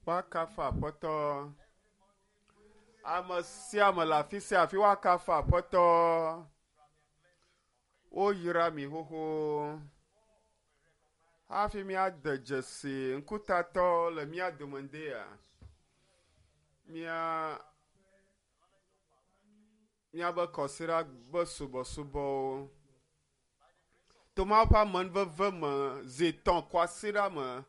Woakafu Aƒetɔ. Ame sia ame le afi sia afi woakafu Aƒetɔ. Woyra mi xoxo. Hafi míade dzesi ŋkutatɔ le mía dome ŋdea, mía míabe kɔsiɖa be subɔsubɔwo. To Mawu ƒe amenuveve me zi tɔ̃ kwasiɖa me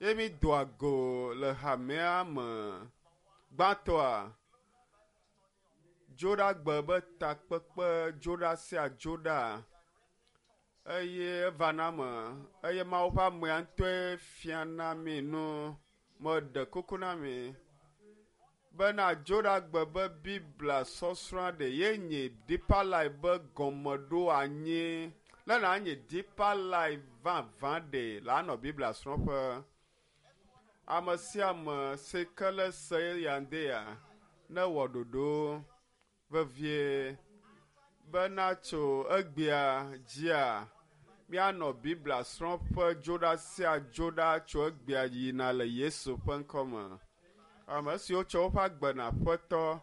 ye mídoa go le hamea me. Gbãtɔa, Dzoɖagbe be takpekpe dzoɖa sia dzoɖa eye evana me eye Mawu ƒe amea ŋutɔe fiana mí nu. Meɖe kuku na mi bena Dzoɖagbe be Biblia sɔsrɔ̃a ɖe ye nye Deeper Life be gɔmeɖoanyi. Ne nànye Deeper Life vavã ɖe la nɔ Biblia srɔ̃ƒe. Ame sia ame si ke le se ya ŋdea newɔ ɖoɖo vevie bena tso egbea dzia, míanɔ Biblia srɔ̃ƒe dzoɖa sia dzoɖa tso egbea yina le Yesu ƒe ŋkɔ me. Ame siwo tsɔ woƒe agbe na Aƒetɔ,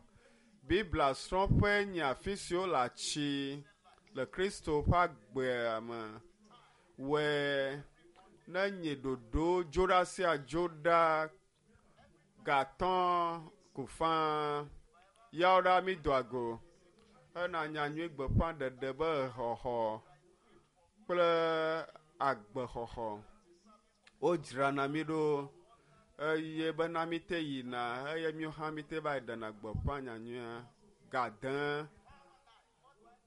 Biblia srɔ̃ƒee nye afi si wole atsi le Kristo ƒe agbea me. Wɔe ne nye ɖoɖo dzoɖa sia dzoɖa gatɔ ko faa. Yawo ɖa mídoa go hena nyanyui gbeƒãɖeɖe be xɔxɔ kple agbexɔxɔ. Wodzrana mí ɖo eye bena míte yina eye míwo hã míte va yi ɖena gbeƒã nyanyuia gade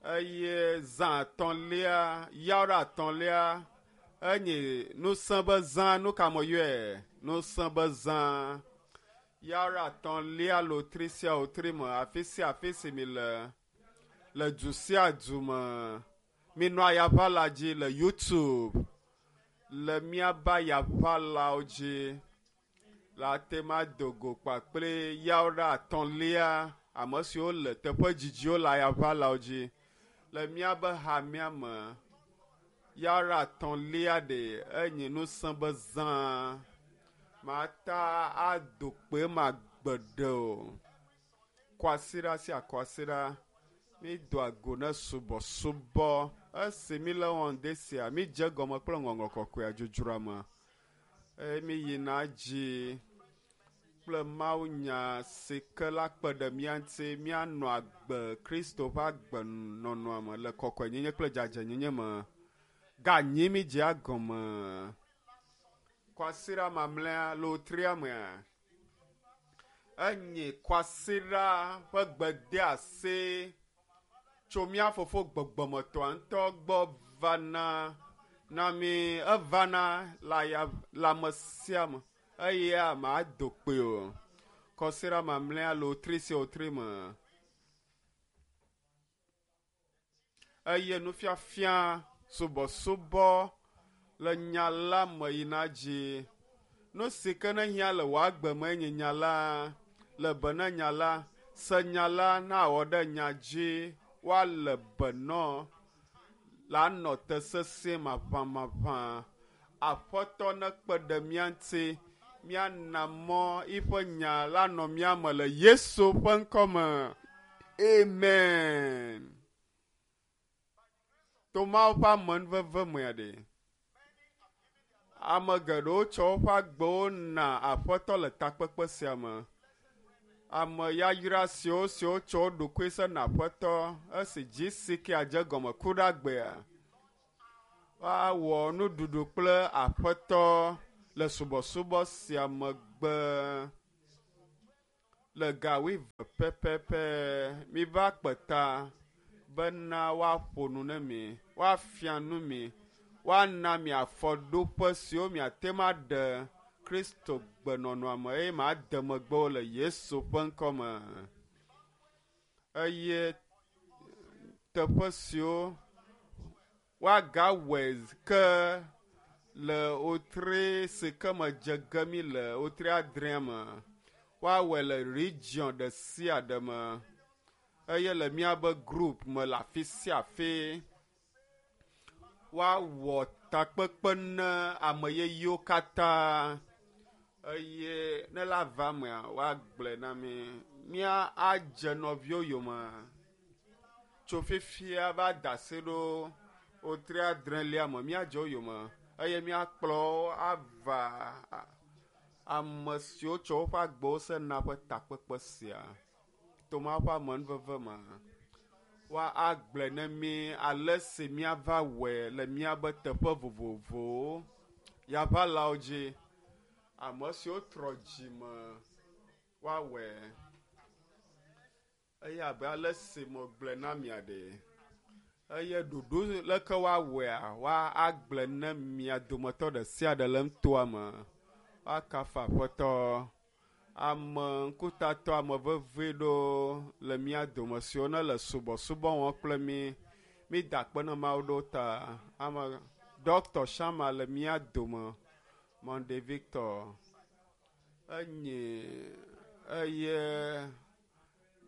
eye zã etɔ̃lia yawo etɔ̃lia enye nusẽ be zã nu ka me yɔe nusẽ be zã yawo etɔ̃lia lotri sia lotri me afi sia afi si mi le le du sia du me minɔ ayaʋala dzi le youtube le míaƒe ayaʋalawo dzi le ate ma do go kpakple yawo ɖe atɔ̃lia ame siwo le teƒe dzidziwo le ayaʋalawo dzi le míaƒe hamea me yawo ɖe atɔ̃lia ɖe enye nusẽ be zã mata ado kpe ma gbeɖe o kwasiɖa sia kwasiɖa mídoa go ne subɔsubɔ esi míle wɔm de sia mídze gɔme kple ŋɔŋlɔ kɔkɔea dzodzroa me eye míyina dzi kple mawunya si ke la kpe ɖe mía ŋuti míanɔ agbe Kristo ƒe agbenɔnɔa me le kɔkɔenyenye kple dzadzɛnyenye me. Ganyi mídzea gɔme kwasiɖa mamlɛa lotria mea enye kwasiɖa ƒe gbedeasi tso mía fofo gbɔgbɔmetɔa ŋutɔ gbɔ vana na mí evana le aya le ame sia ame eye ame ado kpoe o. Kɔsiɖa mamlɛa lotri sia lotri me eye nufiafia subɔsubɔ le nya la me yina dzi. Nu si ke ne hiã le wò agbe me nye nya la, le be na nya la, se nya la na wɔ ɖe nya dzi woale be nɔ la nɔ te sesĩe maʋamaʋã. Aƒetɔ nekpe ɖe mía ŋuti míana mɔ yiƒe nya la nɔ mía me le Yesu ƒe ŋkɔ me. Amen. To Mawu ƒe amenuveve mea ɖe, ame geɖewo tsɔ woƒe agbewo na Aƒetɔ le takpekpe sia me. Ame yayra siwo siwo tsɔ wo ɖokui se na Aƒetɔ esi GCK dze gɔme ku ɖe agbea. Woawɔ nuɖuɖu kple Aƒetɔ le subɔsubɔ sia megbe. Le ga wuieve pɛpɛpɛ miva kpe ta bena woaƒo nu ne mi, woafia nu mi, woana mi afɔɖoƒe siwo miate ŋu aɖe Kristo gbenɔnɔa me eye made megbe wo le Yesu ƒe ŋkɔ me. Eye teƒe siwo woagawɔe ke le wotri si ke me dze ge mi le wotri adrea me woawɔe le region ɖe sia ɖe me eye le míabe group me le afi sia afi woawɔ takpekpe ne ame yeyewo katã. Eye ne la va mea, woagblɔe na mi. Mía adze nɔviwo yome tso fifia va da asi ɖo wotri adrelia me. Míadze wo yome eye míakplɔ wo ava ame siwo tsɔ woƒe agbewo sena ƒe takpekpe sia. To Mawu ƒe amenuveve me, woagblɔe ne mí ale si míava wɔe le míabe teƒe vovovowo, yaʋalawo dzi, ame siwo trɔ dzime woawɔe. Eye abe ale si megblɔe na mia ɖe, eye ɖoɖo leke woawɔea, woagblɔe ne mia dometɔ ɖe sia ɖe le nutoa me. Woakafu Aƒetɔ. Ame ŋkutatɔ ame vevi ɖewo le mía dome siwo ne le subɔsubɔ wɔm kple mí. Mída akpe na Mawu ɖo ta. Ame Dr. Shama le mía dome. Monday Victor enye eye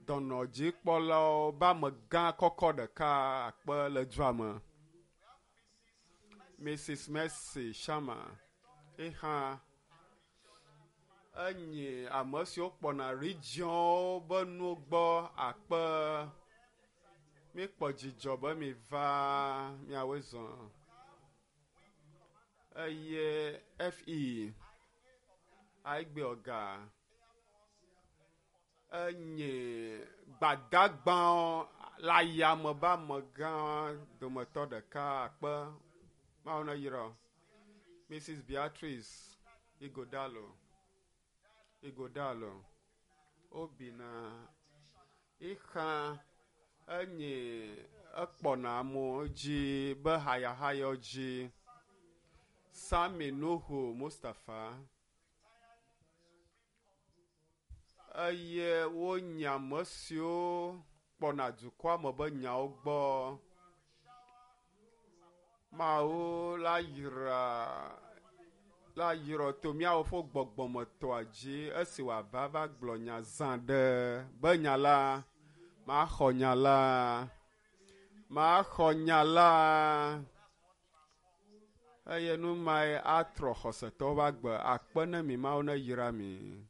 dɔnɔdzikpɔlawo be amegã kɔkɔ ɖeka akpe le dua me. Mrs. Mercy Shama ehã enye ame siwo kpɔna regionwo be nuwo gbɔ akpe. Míekpɔ dzidzɔ be miva miawoe zɔ. Eye FE Aigbe Ɔga enye gbadagbawo le ayame be amegã dometɔ ɖeka akpe. Mawu ne yrɔ. Mrs. Beatrice Igodalo. Igodalo. Obina. Ixa enye ekpɔna amewo dzi be hayahayɔ dzi. Sami Nuhu Mustafa. Eye wonye ame siwo kpɔna dukɔa me be nyawo gbɔ. Mawu la yra la yrɔ to míawo ƒe gbɔgbɔmetɔa dzi esi wòava va gblɔ nya zã ɖe be nya la maxɔ nya la maxɔ nya la eye nu mae atrɔ xɔsetɔwo ƒe agbe akpe ne mi Mawu ne yra mi.